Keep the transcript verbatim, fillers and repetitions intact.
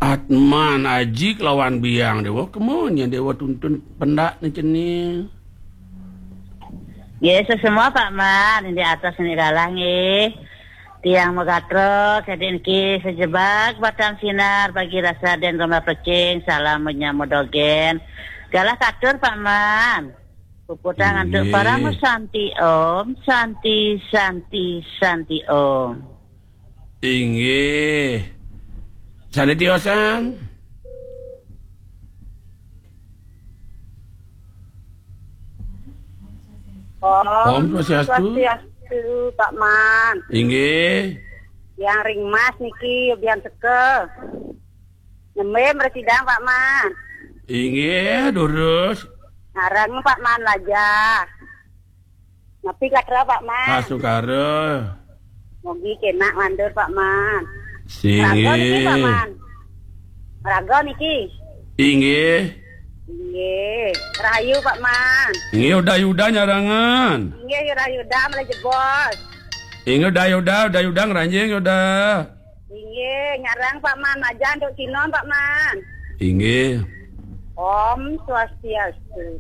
Atman, Aji kelawan Biang Déwa, kema nyén Déwa tuntun pendak né cening? Nggih, sesemua Pak Man, di atas ini galah nggih. Tiang Megatra, kadi niki sejebak batang sinar bagi rasa den gomah pecing, salam menyambut dogen. Galah katur Pak Man. Puputang antuk Inggih. Parama Santi Om, Santi, Santi, Santi Om. Inggih. Sane tiosan. Om Om Swastiastu. Swastiastu, Pak Man. Inggih. Yang ring Mas niki, Biang Sekel. Nembe mresidang, Pak Man. Inggih, durus. Ngarang Pak Man laja. Napi katra Pak Man? Asukara. Mogi kenak mandur Pak Man. Raga niki Pak Singgih. Man. Raga niki. Inggih. Inggih. Rahayu Pak Man. Inggih, udah-udah nyarangan. Inggih, rahayu udah mulai jebos. Inggih, udah-udah, udah-udah ngranjing udah. Inggih, nyarang Pak Man, majan duk sinom Pak Man. Inggih. Om Swastiastu.